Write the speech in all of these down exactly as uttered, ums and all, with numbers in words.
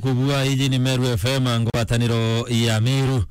Kubua, iji ni Meru F M, ngwataniro ya Meru.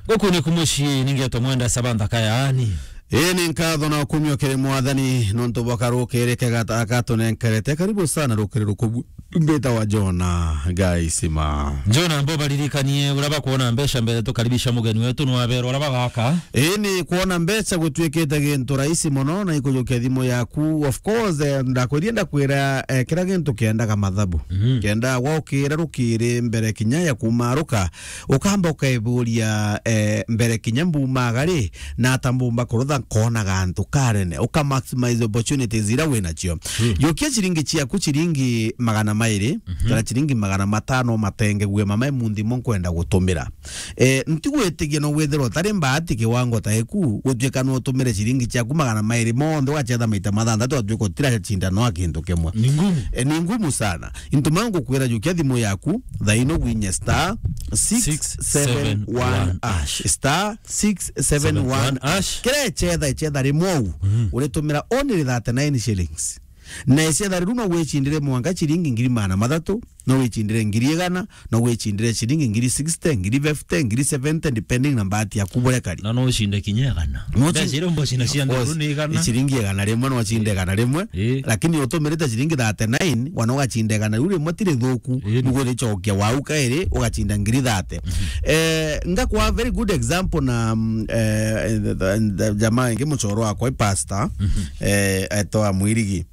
Guku ni kumucii, ningetwa Mwenda Sabantha Kayaani. Ii ni nkatho na ukumio kiri Mwathani nontu bwa karukiri kega aka atunenkerete. Karibu sana rukiri rukubu. Mbita wa Jona Gaisima. Jona, mbo baririkanie uria bakwona mbeca mbere tukaribisha mugeni wetu, nwaberwa uria bagaka. Ii ni kwona mbeca gutwikite gintu rahisi mono na ikujukia thimu yaku. Of course, eh, ndakwirie ndakwira, eh, kira gintu kiendaga mathabu. Mhm. Kenda waukira rukiri mbere kinya ya kumaruka, ukamba ukaiburia, eh, mbere kinya mbumaga ri, na ata mbumba kurutha nkona gantu karene, uka maximize opportunities ira winacio. Mm. Jukia ciringi ciaku ciringi magana mairi, mhm, kana ciringi magana matano matenge gwe mama, munthi mo nkwenda gutumira. Eh, ntigwitigia no withirwa utari mbaati kiwango ta iku, gutuika no utumire ciringi ciaku magana mairi monthe ugacetha maita mathanthatu, ugatuika utiracinda no kintu kimwe. Ni ngumu. Eh, ni ngumu sana. Into mau ngukwira, jukia thimu yaku, thaino winye star six seven one hash. Star six seven one hash. Kira icetha, icetha rimwe u, mhm, uritumira only thirty-nine shillings. Na icetha riu no wicindire mwanka ciringi ngiri magana mathatu, no wicindire ngiri igana, no wicindire ciringi ngiri sixty, ngiri fifty, ngiri seventy, depending na mbati yaku buria kari. Na no ucinde kinya igana. No mbeca ucinde, iria mboci na cia, of course, nthuru ni igana. Ciringi igana rimwe, no ucinde igana rimwe. Ii. Lakini utumirite ciringi thirty-nine, wana ugacinda igana riu rimwe ti rithuku. Ii. Nugu ricokia wau kairi, ugacinda ngiri thirty. Mhm. Eh, ngakwa very good example na, mm, eh, the, the, the jamaa ingi mucoro wakwa i pastor, mhm, eh, etwa Mwirigi.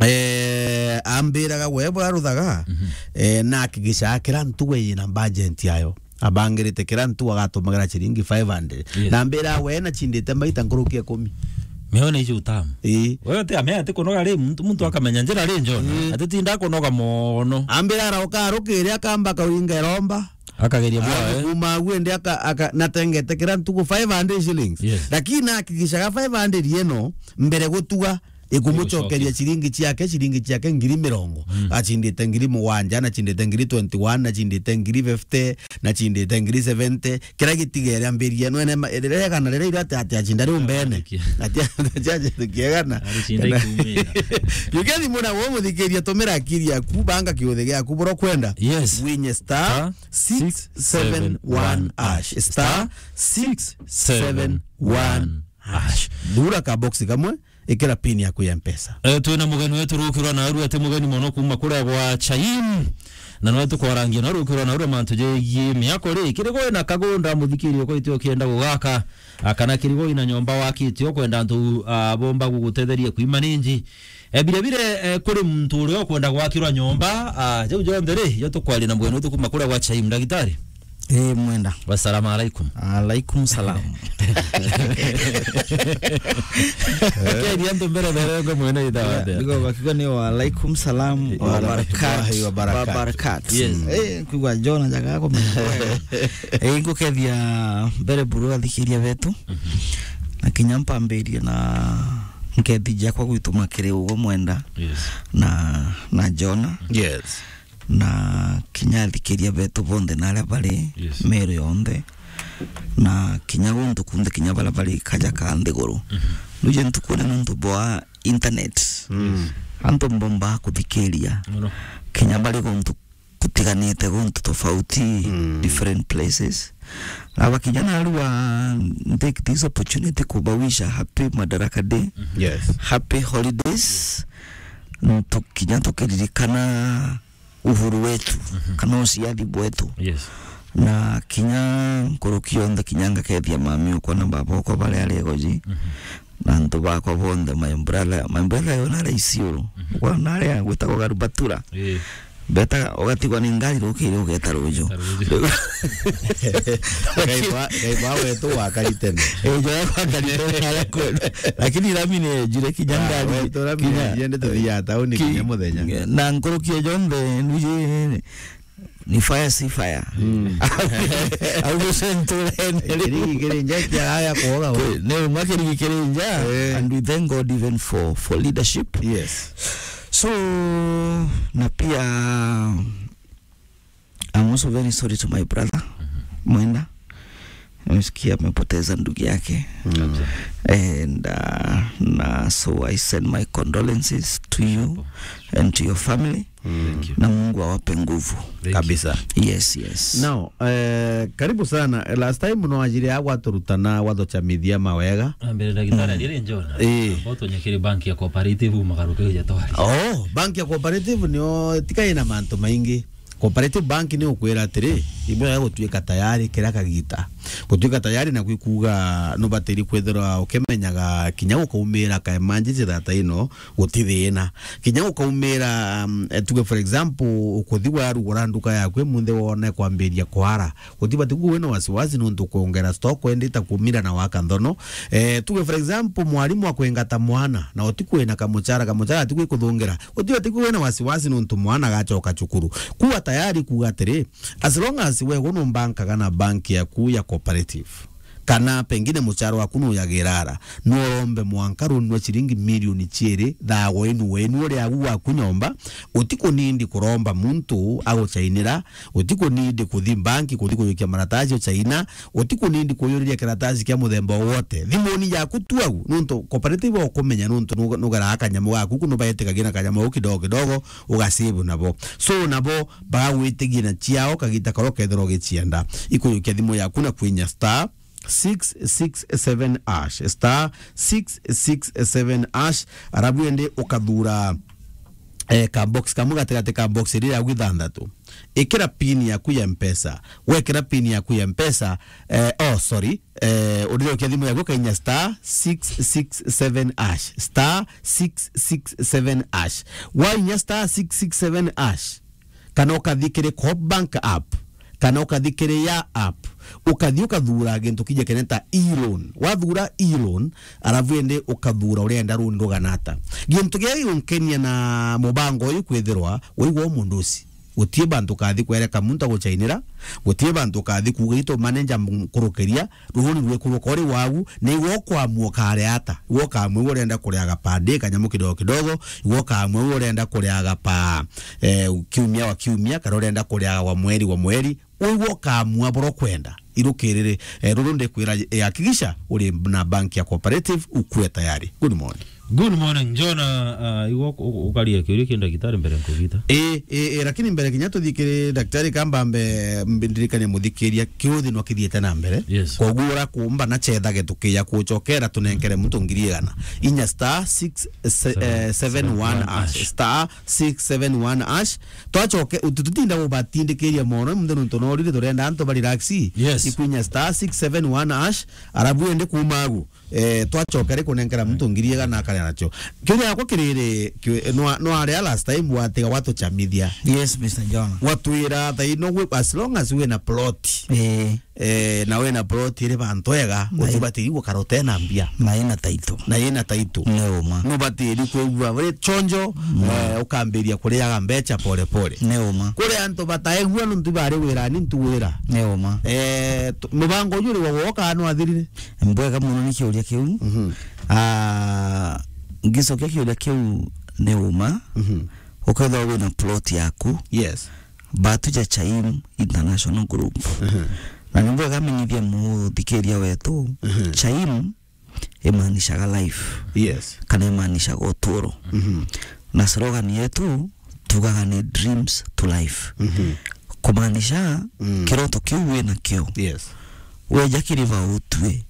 Eh, ambiraga we bwaruthaga, mhm, eh, na akigisha kira ntugo yina budget yayo. Abangirite kira ntugo agatumagira ciringi five hundred. Yes. Na ambira we na cindite maita nkuruki ikumi. Meona icio utamu. Ii. Wewe te amea ati kunoga ri, muntu, muntu akamenya njira ri, John. Ii. Ati tinda kunoga mono. Ambira arauka arukiri akamba kauringa iromba. Akageria bwa, eh. Kuma agu ende aka, aka, natengete kira ntugo five hundred shillings. Yes. Lakini akigishaga five hundred yeno mbere gutuga ikumucokeria ciringi ciake, ciringi ciake ngiri mirongo. Mm. Acindite ngiri mugwanja, na cindite ngiri twenty-one, na cindite ngiri fifty, na cindite ngiri seventy. Kira gitigere ambirie, nwene ma-, riria igana riria ira ati, ati acinda riu mbene. Ati, ati acinda kiegana. Aricinda ikumira. Yukeni muna wo muthikiria, tumira akiri yaku, banga kiuthi giaku buro kwenda. Yes. Winye star six seven one hash. Star six seven one hash. Thura ka box kamwe, ikira pin yaku ya Mpesa. Eh, twina mugeni wetu rukirwa na arua, ati mugeni mono kuma kuria gwa Chaim. Na nwe tukwarangia na rukirwa na arua mantu jegie miako ri, kiri gwe na kagunda muthikiri uko itio kienda gugaka, a, kana kiri gwe ina nyomba wakitio kwenda antu, a, bomba gugutetheria kuimanage. Eh, bire bire, eh, kuri muntu uria ukwenda gwakirwa nyomba, ah, jau jonthe ri, jo tukwaria na mugeni wetu kuma kuria gwa Chaim, ndagitari. Eh, Mwenda. Wassalamu alaikum. Alaikum salam. Keri antu mbere berengwe mwene itha. Ndio, ndio, bakiuga ni wa alaikum salam wa warahmatullahi wabarakatuh. Wabarakatuh. Yes. Eh, kugwa John jaga ko. Eh, ngukethia mbere buru athikiria betu. Mhm. Na kinya mpambirie na nkethi jakwa gwituma kiri ugo Mwenda. Yes. Na, na Jona. Yes. Na kinya athikiria betu bonthe na aria bari, yes, Meru yonthe. Na kinya guntu kunthe kinya baria bari kaja ka nthiguru. Mhm. Ruje ntukune nontu bwa internet. Mm. Antu mbomba kuthikiria. Muno. Kinya bari guntu kutiganite guntu tofauti, mm, different places. Na bakinya narua, take this opportunity kubawisha happy Madaraka Day. Mhm. Yes. Happy holidays. Tukinya tukiririkana uhuru wetu, mhm, kana uciathi bwetu. Yes. Na kinya nkuruki yonthe, kinya ngakethia mami okwa na baba okwa baria ari Egoji. Mhm. Na antu bakwa bonthe, my brother, my brother yo nari Isiolo. Mhm. Kwa nari gwitagwo Garubatura. Eh. Beta ugatigwa ni ngari rukiri ugeta ruju. Ugeta ruju. Ngai wa, Ngai wa wetu wakari tene. Eh, jo wakari tene na kwenda. Lakini rami ni jure kinya, ah, ngari, wetu rami kinya, ni jende tuthia tauni ki-, kinya muthenya. Na nkuruki jonthe nuji ni fire, si fire. Mm. Au gucenturene. Kirigi kiri nja kia haya kuoga we. Ni umwe kirigi kiri nja, eh, and we thank God even for, for leadership. Yes. So, na pia, I'm also very sorry to my brother, mhm, Mwenda. Nimesikia amepoteza ndugu yake. Mm. Kabisa. And, uh, na so I send my condolences to you and to your family. Mm. Na Mungu awape nguvu. Thank you. Kabisa. Yes, yes. Now, eh, karibu sana. Last time no ajiri ya gwaturutana, gwatucamithia mawega. Ambere ndagitari, mm, ajiri njona. Eh. Ambao tunyakiri bank ya cooperative magaruke uja twari. Oh, bank ya cooperative nio tika ina mantu maingi. Cooperative bank ni ukwira atiri, imwe ya gutuika tayari kira kagita. Gutuika tayari na gwikuga nubatiri kwithirwa ukimenyaga kinya gukaumira ka emergency thata ino, guti thina. Kinya gukaumira, um, eh, tuge for example, ukuthi warugura nduka yaku imunthi wone kwambiria kwara. Gutibati kuwa wina wasiwasi nontu ukwongera stock wendita kumira na waka nthono. Eh, tuge for example, mwarimu akwingata mwana, na utikwina kamuchara, kamuchara atikwikuthungira. Gutibati kuwa wina wasiwasi nontu mwana agachoka cukuru. Kuwa tayari kuga atiri, as long as we gunumbankaga na bank yaku ya cooperative, kana pengine muchara waku nuyagira ara, no urombe mwanka runi rwa ciringi milioni ciiri, thaa wenu, wenu uri agu gwaku nyomba, utikunindi kuromba muntu aguchainira, utikunindi kuthi banki, kuthi kujukia maratasi uchaina, utikunindi kuyuriria kiratasi kia muthemba o wote. Thimuni yaku tu au, nontu cooperative ukumenya nontu nu-, nugeraa kanyamu gaku, kuno baetikagia na kanyamu au kidogo kidogo, ugasave nabo. So nabo bagagwitigia na ciao kagita karia ukethirwa ugicienda. Ikujukia thimu yaku na kwinya star six six seven hash, star six six seven hash, arabu ende ukathura, eh, ka box kamwe gatigati ka box iria yaku ithanthatu. Ikira pin yaku ya Mpesa. Wekira pin yaku ya Mpesa, eh, oh, sorry, eh, urijokia thimu yaku kainya star six six seven hash, star six six seven hash. Wainya star six six seven hash, kana ukathi kiri Coop Bank app, kana ukathi kiri ya app, ukathi ukathura gintu kija keneta e-loan. Wathura e-loan, arabu indi ukathura urenda runi rugana ata. Gintu gia giunkenia na mubango uyu kwithirwa waigua u mundu uci. Gutie bantu ukathi kwereka muntu aguchainira, gutie bantu ukathi kuuga itu manager nkurukiria, runi rwikuruka uri wagu, na iwe ukwamua ukare ata, iwe ukamua iwe urenda kuriaga per day kanyamu kidogo kidogo, iwe ukamua iwe urenda kuriaga per, eh, kiumia wa kiumia, kana urenda kuriaga wa mweri wa mweri, iwe ukamua bura kwenda. Irukiriri, eh, ruru ndikwira, eh, hakikisha uri na bank ya cooperative, ukue tayari. Good morning. Good morning, John. Ah, igo u-, u-, ukaria kiuria ki ndagitari mbere nkugita. Ii, ii, ii, lakini mbere kinya tuthikire daktari kamba mbe, mbe ndirikane muthikiria kiuthi no kithiete na mbere. Yes. Koguo ura kumba na chethage tukiya kuchokera tunenkere muntu ngiri igana. Inya star six, se-, eh, seven one hash. Star six seven one hash. Twachoke, utu-, tutinda gubatindikiria mono, muntu nontu norire turenda antu ba relax. Yes. Ikwinya star six seven one hash, arabu ende kuma agu. Eh, twachoka ri kunenkera muntu ngiri igana akaria nacio. Kiuria yakwa kiriri, kiu-, nwa-, nwaria last time watiga watuchamithia. Yes, Mister John. Watwira thaino gwi-, as long as wina plot. Eh. Eh, na wina plot iri bantu ega, na i-, utibatiri gukara utena mbia. Na ina title. Na ina title. Ni uma. Nubatiri kwigua uri chonjo, mm, eh, ukambiria kuriaga mbecha pole pole. Ni uma. Kuri antu bataegua nuntu bari wirani ntuwira. Ni uma. Eh, tu-, mubango uyu ri wa woka nwathirire? Mbwega muno ni kiuria kiu. Mhm. Ah, ngicokia kiuria kiu ni uma. Mhm. Ukethirwa wina plot yaku. Yes. Batu ja Chaim International Group. Mhm. Na ni mbwega menyithia muthikiria wetu. Mhm. Chaim imaanishaga life. Yes. Kana imaanishaga uturo. Mhm. Na slogan yetu tugaga ni dreams to life. Mhm. Kumaanisha, mm, kiroto kiu wina kio. Yes. Weja kiri ba utue.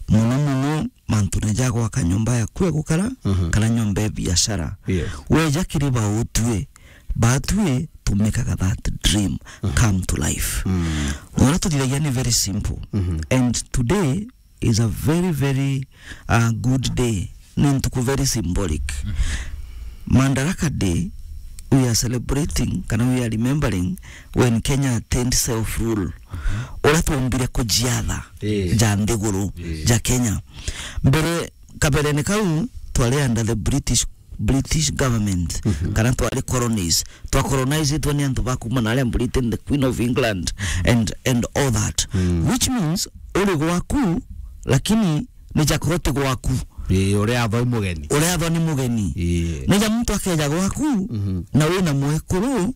Muno muno mantu ne ja gwaka nyomba yaku ya gukara, mhm, kana nyomba ya biashara. Yes. Weja kiri ba utue, batue to make that dream, mhm, come to life. Mm. Uria tuthithagia ni very simple. Mhm. And today is a very, very, uh, good day. Ni ntuku very symbolic. Mm. Madaraka Day, we are celebrating, kana we are remembering when Kenya attained self-rule. Uria twombire kujiatha, eh, ja nthiguru, eh, ja Kenya. Mbere, kaberene kau, twari under the British, British government, mhm, kana twari colonies. Twa colonizitwe ni antu ba kuma naria Britain, the Queen of England, mhm, and, and all that. Mm. Which means, uri gwaku, lakini ni jakorwo ti gwaku. Ii, uria athwa ni mugeni. Uria athwa ni mugeni. Ii. Ni ja muntu akeja gwaku, mhm, na wina mwekuru,